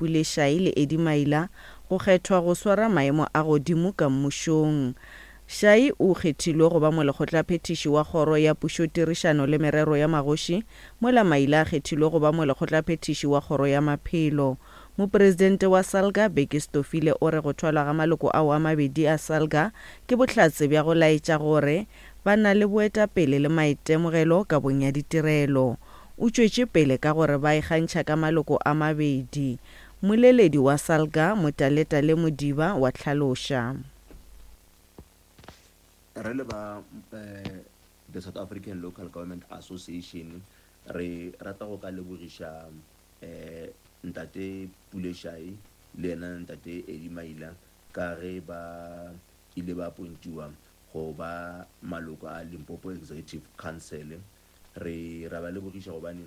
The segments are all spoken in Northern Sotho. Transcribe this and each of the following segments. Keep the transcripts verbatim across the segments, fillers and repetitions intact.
Pule Shayi le Eddie Maila go kgethwa go swara maemo a godimo ka mmušong. Shayi o kgethilwe go ba molekgotlaphethiši wa Kgoro ya Pušotirišano le Merero ya Magoši, mola Maila a kgethilwe go ba molekgotlaphethiši wa Kgoro ya Maphelo. Mopresidente wa SALGA, Bheki Stofile o re go thwalwa ga maloko ao a mabedi a SALGA ke bohlatse bja go laetša gore ba na le boetapele le maitemogelo kabong ya ditirelo. O tšwetše pele ka gore ba ikgantšha ka maloko a mabedi. Mmoleledi wa SALGA, Motaletale Modiba wa hlaloša. Re le ba The South African Local Government Association re rata go ka lebogiša Ntate Pule Shayi le yena Ntate Eddie Maila ka ge ba ile ba apointiwa go ba maloko a Limpopo Executive Council. Re ra ba lebogiša gobane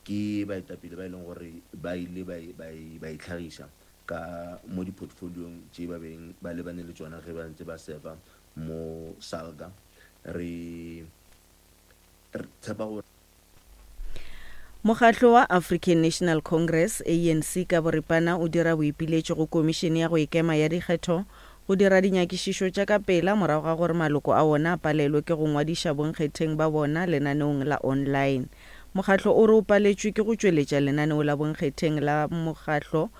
ke baetapele ba e leng gore ba ile ba itlhagiša ka mo di-portfoliong tše ba beng ba lebane le tšona ge ba ntse ba serva mo SALGA. Re tshepa gore Mokgatlo wa African National Congress, A N C, ka boripana o dira boipiletšo go Komišene ya go Ikema ya Dikgetho go dira dinyakišišo tša ka pela morago ga gore maloko a wona a palelwe ke go ngwadiša bonkgetheng ba bona lenaneong la online. Mokgatlo o re o paletšwe ke go tšweletša lenaneo la bonkgetheng la mokgatlo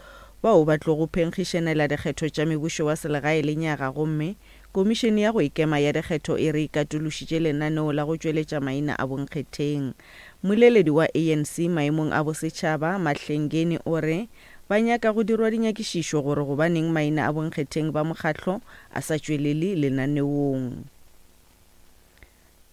bao ba tlogo phenkgišanela dikgetho tša mebušo wa selegae lenyaga, gomme Komišene ya go Ikema ya Dikgetho e re e katološitše lenaneo la go tšweletša maina a bonkgetheng. Mmoleledi wa A N C maemong a bosetšhaba, Mahlengeni, o re ba nyaka go dirwa dinyakišišo gore gobaneng maina a bonkgetheng ba mokgatlo a sa tšwelele lenaneong.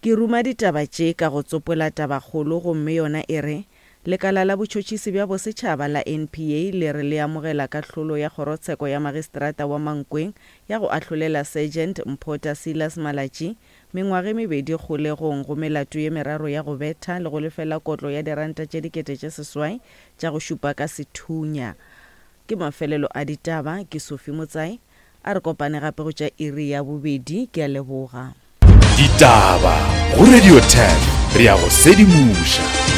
Ke ruma ditaba tše ka go tsopola tabakgolo, gomme yona e re Lekala la botšhotšhisi bja bosetšhaba la N P A le re le amogela kahlolo ya kgorotsheko ya magistrata wa Mankweng ya go ahlolela Sergeant Mphota Silas Malatji mengwaga e mebedi kgolegong go melato ye meraro ya go betha le go lefela kotlo ya diranta tše dikete tše seswai tša go šupa ka sethunya. Ke mafelelo a ditaba, ke Sophie Motsai. A re kopane gape go tša iri ya bobedi. Ke a leboga. Ditaba go Radio Turf, re ya go sedimoša.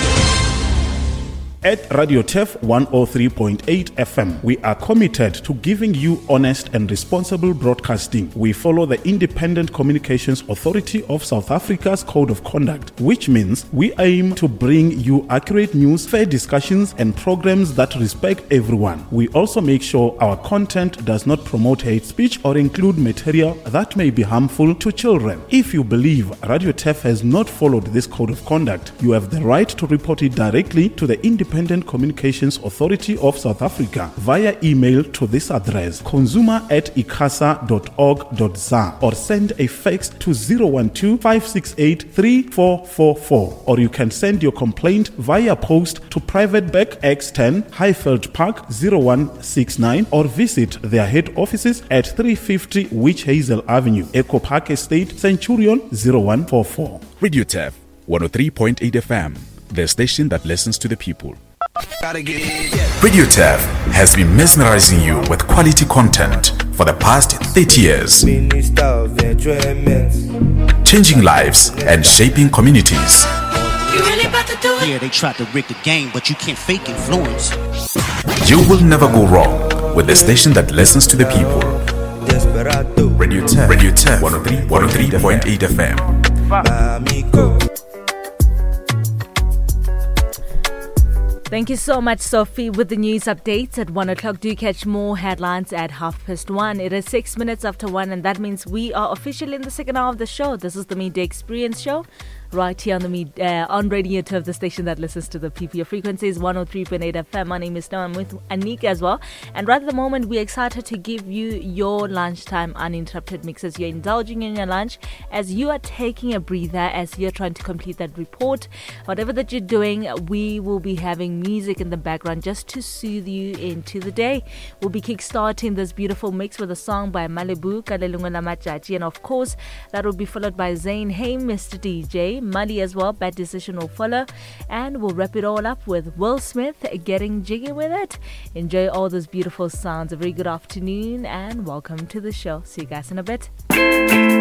At Radio Turf one oh three point eight F M, we are committed to giving you honest and responsible broadcasting. We follow the Independent Communications Authority of South Africa's Code of Conduct, which means we aim to bring you accurate news, fair discussions, and programs that respect everyone. We also make sure our content does not promote hate speech or include material that may be harmful to children. If you believe Radio Turf has not followed this Code of Conduct, you have the right to report it directly to the Independent Independent Communications Authority of South Africa via email to this address, consumer at icasa dot org dot za, or send a fax to zero one two, five six eight, three four four four, or you can send your complaint via post to Private Bag X ten, Highveld Park zero one six nine, or visit their head offices at three fifty Witch Hazel Avenue, Echo Park Estate, Centurion zero one four four. Radio Turf one oh three point eight F M, the station that listens to the people. Radio Turf has been mesmerizing you with quality content for the past thirty years, Minister of Enjoyment, changing lives and shaping communities. You really about to do it? Yeah, they tried to rig the game, but you can't fake influence. You will never go wrong with the station that listens to the people. Desperado. Radio Turf, Radio Turf, one oh three point eight F M. Amigo. Thank you so much, Sophie, with the news updates at one o'clock. Do catch more headlines at half past one. It is six minutes after one, and that means we are officially in the second hour of the show. This is the Midday Experience Show, right here on the Mid, uh, on Radio Turf, the station that listens to the P P. Your frequency is one oh three point eight F M. My name is Noah. I'm with Anika as well. And right at the moment, we're excited to give you your lunchtime uninterrupted mixes. You're indulging in your lunch as you are taking a breather, as you're trying to complete that report. Whatever that you're doing, we will be having music in the background just to soothe you into the day. We'll be kickstarting this beautiful mix with a song by Malibu, Kalelunga la Machachi, and of course that will be followed by Zane, Hey Mister D J, Mali as well, Bad Decision will follow, and we'll wrap it all up with Will Smith, Getting Jiggy With It. Enjoy all those beautiful sounds. A very good afternoon and welcome to the show. See you guys in a bit.